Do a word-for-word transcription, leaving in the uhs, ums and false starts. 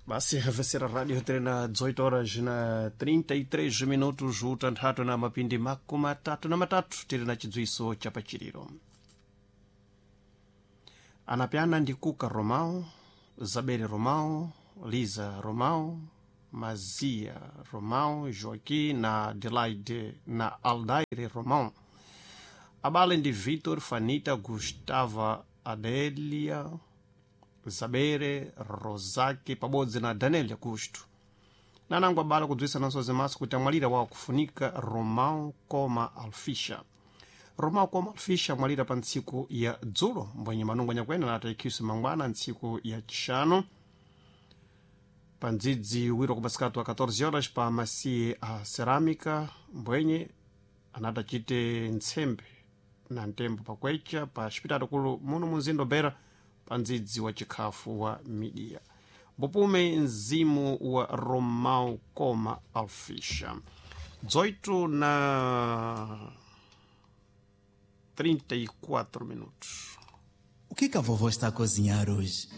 Basi havesera radio tena dezoito horas na trinta e três minutos, utanthatu na mapindi makumi matatu na matatu, tili na chidziwiso cha pachiliro. Anapyana ndi Kuka Romao, Zabere Romao, Liza Romao, Mazia Romao, Joaquim na Adelaide na Aldaire Romao. Abale ndi Vitor, Fanita, Gustava, Adelia, Zabere, Rozaki pabodzi na Daniel Augusto. Nanango abale kudziwisa nanso zimaso kuti amwalira wawo kufunika Romao Koma Alfisha. Romao Koma Alfisha amwalira pa ntsiku ya dzulo, mbwenye manungo nyakwena anatayikhiso mangwana ntsiku ya chishanu pa ndzidzi wiro kumasikatu wa catorze horas pa masiye a cerâmica, mbwenye anatachite ntsembe na ntembo pakwecha pa xipitalo kulu muno munzinda Beira pa ndzidzi wa chikhafu wa midiya. Mbupume mzimu wa Romao Koma Alfisha. dezoito na trinta e quatro minutos. O que que a vovó está a cozinhar hoje?